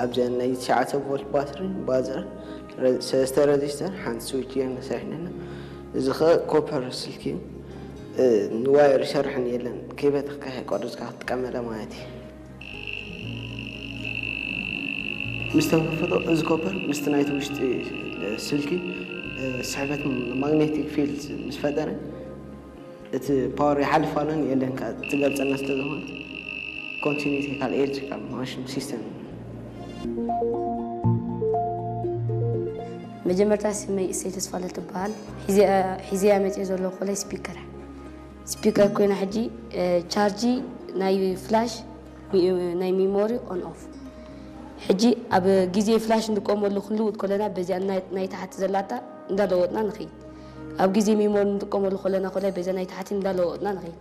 ኣብዚኣ ናይ ትሽዓተ ቮልት ባትሪ፣ ባዘር፣ ረ-፣ ሰለስተ ረዚስተር፣ ሓንቲ ስዊች እየን ሰሪሕና። እዚ ኸ ኮፐር ስልኪ እዩ። እ፣ ንዋየር ይሰርሕን የለን። ከይበተኽካ ከይቆረጽካ ክትጥቀመላ ማለት እዩ። ምስ ተንከፈቶ እዚ ኮፐር ምስቲ ናይቲ ውሽጢ ስልኪ፣ እ፣ ስሕበት ማግኔቲክ ፊልድ ምስ ፈጠረ፣ እቲ ፓወር ይሓልፍ ኣሎን የለን ከኣ ትገልጸልና ስለ ዝኾነ፣ ኮንቲኒቲ ካልእ ኤሌክትሪካል ማሽን ሲስተም። መጀመርታ ስመይ እሰይ ተስፋለ ትበሃል። ሒዘያ፣ ሒዘያ መፅዮ ዘለኹ ኮላይ ስፒከር። ስፒከር ኮይና ሕጂ፣ እ፣ ቻርጂ ናይ ፍላሽ፣ ሚ-፣ ናይ ሚሞሪ ኦን ኦፍ። ሕጂ ኣብ ግዜ ፍላሽ እንጥቀመሉ ክንልውጥ ከለና በዚኣ ናይ፣ ናይ ታሕቲ ዘላታ እንዳለወጥና ንኸይድ። ኣብ ግዜ ሚሞሪ እንጥቀመሉ ከለና ኮላይ በዛ ናይ ታሕቲ እንዳለወጥና ንኸይድ።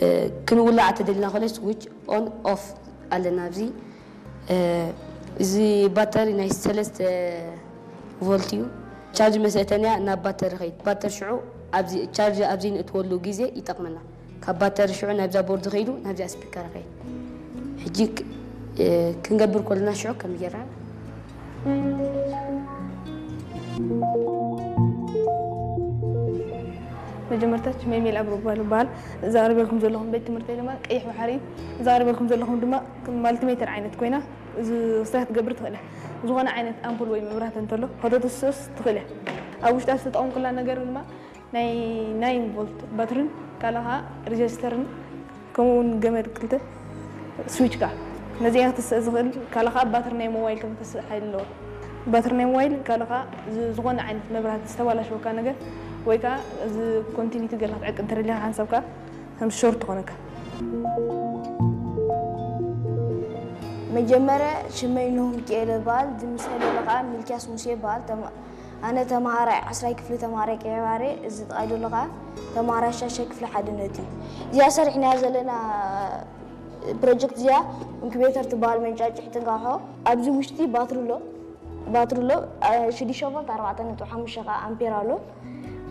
እ፣ ክንውላዕ ተደሊና ኮላይ ስዊች ኦን ኦፍ ኣለና ኣብዚ። እ፣ እዚ ባተሪ ናይ ሰለስተ ቮልት እዩ። ቻርጅ መሰተንያ ናብ ባተሪ ኸይድ። ባተሪ ሽዑ ኣብዚ ቻርጅ ኣብዚ ንእትወሉ ግዜ ይጠቕመና። ካብ ባተሪ ሽዑ ናብዛ ቦርድ ኸይዱ ናብዛ ስፒከር ኸይድ። ሕጂ ክ-፣ እ፣ ክንገብር ከለና ሽዑ ከም ጌርና። መጀመርታ ሽመይ ሜል ኣብሩ ይበሃል። እዛ ኣቕርበልኩም ዘለኹም ቤት ትምህርተይ ድማ ቀይሕ ባሕሪ። እዛ ኣቕርበልኩም ዘለኹም ድማ ማልቲሜተር ዓይነት ኮይና፣ እዚ ክስታይ ክትገብር ትኽእል እያ። ዝኾነ ዓይነት ኣምፑል ወይ መብራህቲ እንተሎ ከተትስስ ትኽእል እያ። ኣብ ውሽጣ ዝተጠቐምኩላ ነገር ድማ ናይ ናይን ቮልት ባትርን ካልእ ኸኣ ሬጀስተርን ከምኡ እውን ገመድ ክልተ ስዊች ከኣ ነዚኣ ክትስእ ዝኽእል ካልእ ኸኣ ባትሪ ናይ ሞባይል ከም ክትስእ ሓይሊ ኣለዎ። ባትሪ ናይ ሞባይል ካልእ ኸኣ ዝ-፣ ዝኾነ ዓይነት መብራህቲ ዝተባላሸወካ ነገር ወይ ከኣ እዚ ኮንቲኒቲ ገለ ክትዕቅን እንተደሊኻ ሓንሳብ ከኣ ከም ሾርት ትኾነካ። መጀመርያ ሽመይ ኖህ ሚካኤል ይበሃል። እዚ ምስ ዘሎ ከኣ ሚልክያስ ሙሴ ይበሃል። ተማ-፣ ኣነ ተማሃራይ ዓስራይ ክፍሊ ተማሃራይ ቀይሕ ባሕሪ፣ እዚ ጥቓይ ዘሎ ከኣ ተማሃራይ ሻሻይ ክፍሊ ሓድነት እዩ። እዚኣ ሰሪሕናያ ዘለና ፕሮጀክት እዚኣ ኢንኩቤተር ትበሃል፣ መንጫጭሕ ትንቃሖ። ኣብዚ ውሽጢ ባትሪ ኣሎ። ባትሪ ኣሎ፣ አ፣ ሽዱሽተ ቮልት ኣርባዕተ ነጥቢ ሓሙሽተ ከኣ ኣምፔር ኣሎ።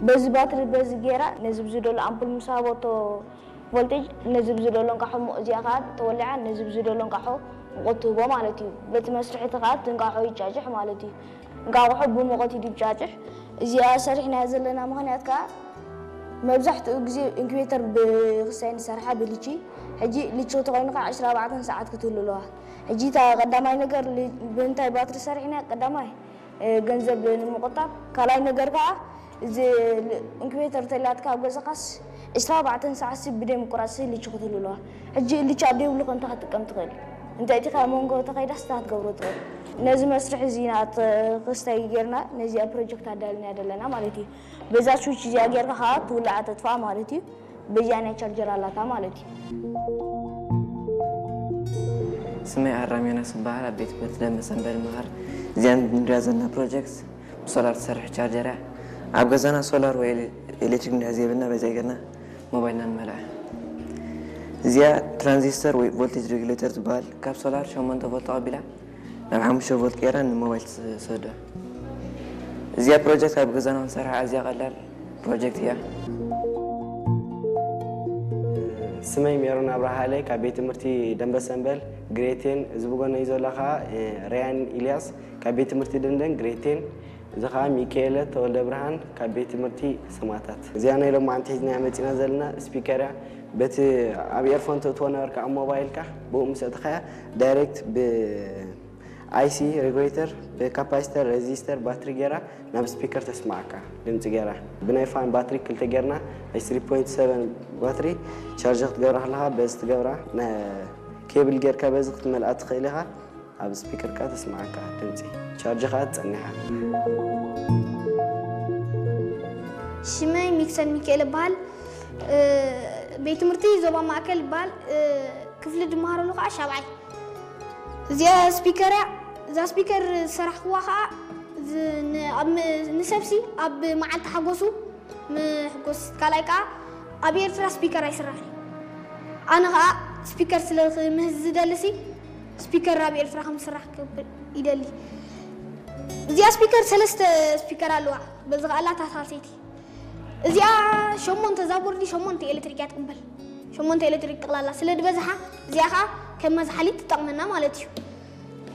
በዚ ባትሪ በዚ ጌራ ነዚ ብዝደሎ ኣምፑል ምስ ሃበቶ ቮልቴጅ ነዚ ብዝደሎ እንቃሖ ሞ-፣ እዚኣ ከኣ ተወሊዓ ነዚ ብዝደሎ እንቃሖ ሙቐት ትህቦ ማለት እዩ። በቲ መስርሒ እቲ ከኣ እቲ እንቃሖ ይጫጭሕ ማለት እዩ። እንቃቑሖ ብሙቐት እዩ ድጫጭሕ። እዚኣ ሰሪሕናያ ዘለና ምኽንያት ከኣ መብዛሕትኡ ግዜ ኢንኩቤተር ብክስታይ ንሰርሓ ብልቺ። ሕጂ ልቺ ተኾይኑ ከኣ ዕስራ ኣርባዕተ ሰዓት ክትህሉ ኣለዋ። ሕጂ እታ ቀዳማይ ነገር ል-፣ ብምንታይ ባትሪ ሰሪሕና ቀዳማይ፣ እ፣ ገንዘብ ንምቑጣብ፣ ካልኣይ ነገር ከኣ እዚ ል-፣ ኢንኩቤተር ተላትካ ኣብ ገዛኻስ ዕስራ ኣርባዕተ ሰዓት ሲ ብደይ ምቁራጽ ሲ ልቺ ክትህሉ ኣለዋ። ሕጂ ልቺ ኣብ ደይብሉ ከ እንታይ ክትጥቀም ትኽእል? እንተ እቲ ካብ መንጎ ተኸይዳስ እንታይ ክትገብሮ ትኽእል? ነዚ መስርሕ እዚ ኢና ት-፣ ክስታይ ጌርና ነዚኣ ፕሮጀክት ኣዳልና ዘለና ማለት እዩ። በዛ ስዊች እዚኣ ጌርካ ከኣ ትውልዓ ተጥፍኣ ማለት እዩ። በዚኣ ናይ ቻርጀር ኣላታ ማለት እዩ። ስመይ ኣራም ዮናስ ይበሃል። ኣብ ቤት ትምህርቲ ደንበ ሰንበል ይመሃር። እዚኣ ንሪኣ ዘለና ፕሮጀክት ብሶላር ትሰርሕ ቻርጀር እያ። ኣብ ገዛና ሶላር ወይ ኤሌ-፣ ኤሌክትሪክ እንድሕር ዘይብልና በዚኣ ጌርና ሞባይልና ንመልኣ። እዚኣ ትራንዚስተር ወይ ቮልቴጅ ሬጉሌተር ትበሃል። ካብ ሶላር ሸሞንተ ቮልት ተቐቢላ ናብ ሓሙሽተ ቮልት ቀይራ ንሞባይል ትሰዶ። እዚኣ ፕሮጀክት ኣብ ገዛና ክንሰርሓ ኣዝያ ቀላል ፕሮጀክት እያ። ስመይ ሜሮን ኣብርሃ ሃይለ ካብ ቤት ትምህርቲ ደንበ ሰንበል ግሬድ ቴን፣ እዚ ብጎነይ ዘሎ ኸዓ ርያን ኢልያስ ካብ ቤት ትምህርቲ ደንደን ግሬድ ቴን፣ እዚ ኸዓ ሚካኤለ ተወልደ ብርሃን ካብ ቤት ትምህርቲ ሰማእታት። እዚኣ ናይ ሎማዓንቲ ሒዝናያ መፂና ዘለና ስፒከር እያ። በቲ ኣብ ኤርፎን ተእትዎ ነበርካ ኣብ ሞባይልካ ብኡ ምስ ኣእተኻያ ዳይሬክት ብ ኣይሲ ሬጉሌተር ብካፓሲተር ሬዚስተር ባትሪ ጌራ ናብ ስፒከር ተስማዓካ ድምፂ ጌራ ብናይ ፋን ባትሪ ክልተ ጌርና ናይ ስሪ ፖይንት ሰቨን ባትሪ ቻርጅ ክትገብራ ከለካ በዚ ትገብራ ነ- ኬብል ጌርካ በዚ ክትመልኣ ትኽእል ኢኻ ኣብ ስፒከርካ ተስማዓካ ድምፂ ቻርጅ ከዓ ትፀኒሓ። ሽመይ ሚክሰን ሚካኤል ይበሃል። ቤት ትምህርቲ ዞባ ማእከል ይበሃል። ክፍሊ ድመሃረሉ ከዓ ሻብዓይ። እዚኣ ስፒከር እያ። እዛ ስፒከር ዝሰራሕክዋ ከዓ ንሰብሲ ኣብ መዓልቲ ሓጎሱ ምሕጎስ። ካልኣይ ከዓ ኣብ ኤርትራ ስፒከር ኣይስራሕን። ኣነ ከዓ ስፒከር ስለ ምህዝ ዝደልሲ ስፒከር ኣብ ኤርትራ ከም ዝስራሕ ክብል ይደሊ። እዚኣ ስፒከር ሰለስተ ስፒከር ኣለዋ። በዚ ከዓ ላታ ሳልሰይቲ እዚኣ ሸሞንተ እዛ ቦርዲ ሸሞንተ ኤሌክትሪክ እያ ትቅበል። ሸሞንተ ኤሌክትሪክ ጠቅላላ ስለ ዝበዝሓ እዚኣ ከዓ ከም መዝሓሊት ትጠቅመና ማለት እዩ።